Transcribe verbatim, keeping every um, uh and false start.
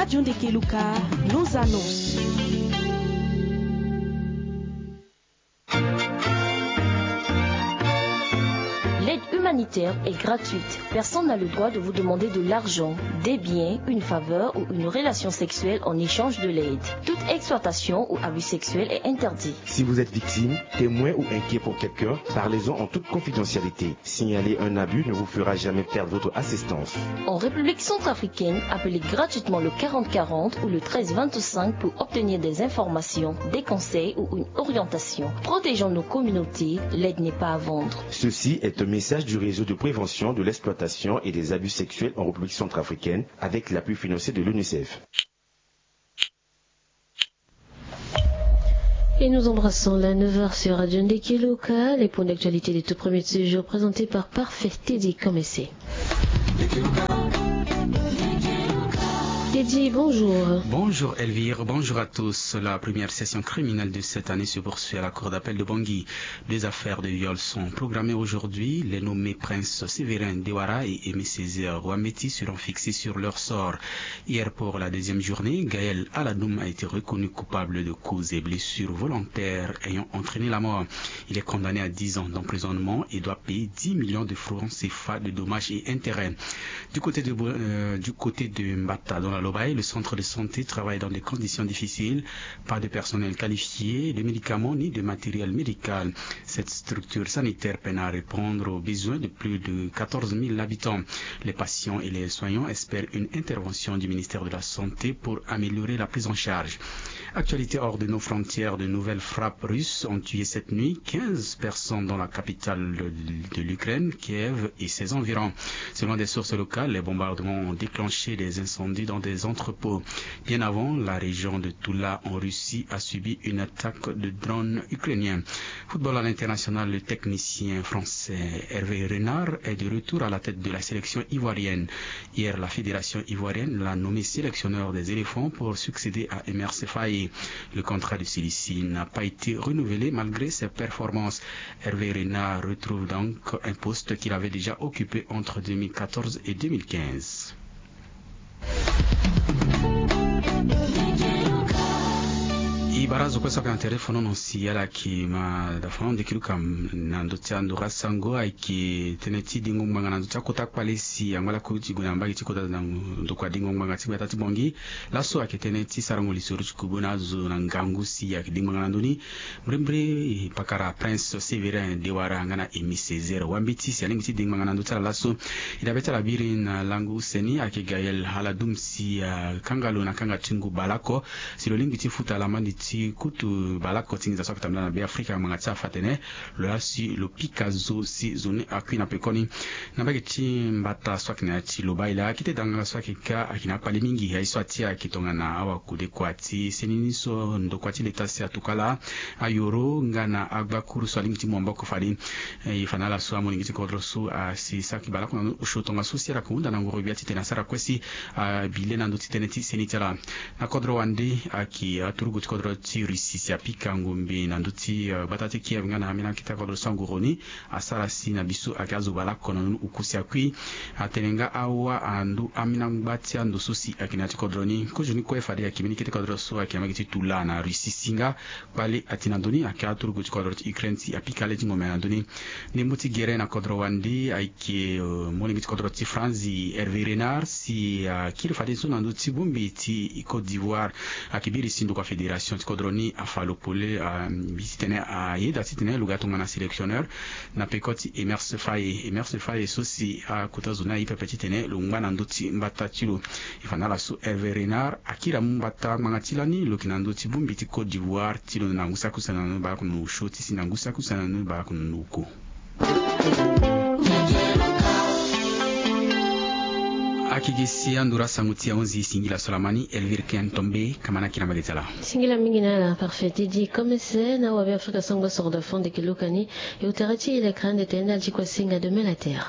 John de Keluka, nos annonces. L'aide humanitaire est gratuite. Personne n'a le droit de vous demander de l'argent, des biens, une faveur ou une relation sexuelle en échange de l'aide. Toute exploitation ou abus sexuel est interdit. Si vous êtes victime, témoin ou inquiet pour quelqu'un, parlez-en en toute confidentialité. Signaler un abus ne vous fera jamais perdre votre assistance. En République centrafricaine, appelez gratuitement le quarante quarante ou le treize vingt-cinq pour obtenir des informations, des conseils ou une orientation. Protégeons nos communautés, l'aide n'est pas à vendre. Ceci est un message du réseau de prévention de l'exploitation et des abus sexuels en République centrafricaine avec l'appui financier de l'UNICEF. Et nous embrassons la neuf heures sur Radio Ndeki Luka, les points d'actualité de tout premier de ce jour présentés par Parfait Teddy Komese. Teddy, bonjour. Bonjour Elvire, bonjour à tous. La première session criminelle de cette année se poursuit à la cour d'appel de Bangui. Deux affaires de viol sont programmées aujourd'hui. Les nommés princes Sévérin Dewara et Aimé Césaire Wameti seront fixés sur leur sort. Hier, pour la deuxième journée, Gaël Aladoum a été reconnu coupable de causes et blessures volontaires ayant entraîné la mort. Il est condamné à dix ans d'emprisonnement et doit payer dix millions de francs C F A de dommages et intérêts. Du côté de, euh, du côté de Mbata, dans la Lobaye, le centre de santé travaille dans des conditions difficiles. Pas de personnel qualifié, de médicaments ni de matériel médical. Cette structure sanitaire peine à répondre aux besoins de plus de quatorze mille habitants. Les patients et les soignants espèrent une intervention du ministère de la Santé pour améliorer la prise en charge. Actualité hors de nos frontières, de nouvelles frappes russes ont tué cette nuit quinze personnes dans la capitale de, de l'Ukraine, Kiev, et ses environs. Selon des sources locales, les bombardements ont déclenché des incendies dans des entrepôts. Bien avant, la région de Tula en Russie a subi une attaque de drones ukrainiens. Football à l'international, le technicien français Hervé Renard est de retour à la tête de la sélection ivoirienne. Hier, la fédération ivoirienne l'a nommé sélectionneur des éléphants pour succéder à Emer Sefaye. Le contrat de celui-ci n'a pas été renouvelé malgré ses performances. Hervé Renard retrouve donc un poste qu'il avait déjà occupé entre deux mille quatorze et deux mille quinze. I bara zo kue so ayeke na tere fono na si ala yeke ma dafa na ndo ti lo ka na ndö ti ando ga sango ayeke tënë ti dingo ngbanga na ndö ti akota kpale si angba lakue ti gue na mbage ti kota na ndokua dingo ngbanga ti gbata ti Bangui. Laso ayeke tënë ti sarango lisoro ti kubu na azo na ngangu si ayeke dingo ngbanga na ndö ni. Mbrimbri pakara Prince Sévérin Dewara nga na Aimé Césaire Wambeti si alingbi ti dingo ngbanga na ndö ti ala laso. E dabe ti ala biri na lango use ni ayeke Gaël Aladoum si akanga lo na kanga ti ngu baleoko si lo lingbi ti futa lamandi ti kutu baleoko ti nginza so ayeke tambula na Beafrika ngbanga ti afa atene lo laa si lo pika zo si zo ni akui na pekoni. Na mbage ti mbata so ayeke na ya ti Lobaye laa akete dangala so ayeke ka ayeke na akpale mingi aye so atia ayeke tongana awakodekua ti seni ni so ndokua ti leta si atuka laa ayoro nga na agbakuru so alingbi ti mu maboko fade. E fa na ala so amolenge ti kodro so asi saki baleoko na ndo osio tongaso si ala yeke hunda na ngoro gbia titene asara kue si abi le na ndö ti tënë ti seni ti ala. Na kodro wande ayeke aturugu ti kodro ti Russie si apika ngombe na ndö ti gbata ti Kiev nga na ambeni akete kodro so anguru ni asara si na biso ayeke azo baleoko na ndo ni oku si akui. Atene nga awa ando ambeni angba ti ando so si ayeke na ya ti kodro ni kozoni kue fade ayeke mbeni kete kodro so ayeke na mbage ti Tula na Russie si nga kpale ati na ndö ni ayeke aturugu ti kodro ti Ukraine si apika le ti ngombe na ndö ni. Ndembo ti gere na kodro wande ayeke molenge ti kodro ti France Hervé Renard si akiri fadeso na ndö ti bongbi ti Côte d'Ivoire. Ayeke biri si ndokua fédération ti kodro ni afa lo pole abi titene ayeda titene lo ga tongana sélectionneur na peko ti Emerse Faye. Emerse Faye so si akota zo ni aye pepe titene lo ngba na ndö ti mbata ti lo. E fa na ala so Hervé Renard akiri amu mbata ngbanga ti lani lo yeke na ndö ti bongbi ti Côte d'Ivoire ti lo na ngu saki use na ndoni baleoko na ndo osio ti si na ngu saki use na ndoni baleoko na ndo oko. Akeke si anduru asango ti ahunzi singila so lama ni Elvire Ken Tombe, kamana kiri na mbage ti ala. Singila mingi na ala Parfait Teddy Komese na wabe Afrika sango soro da fond de kilokani. E utara ti e lekra ande tene na ala ti kua singa de mela terre.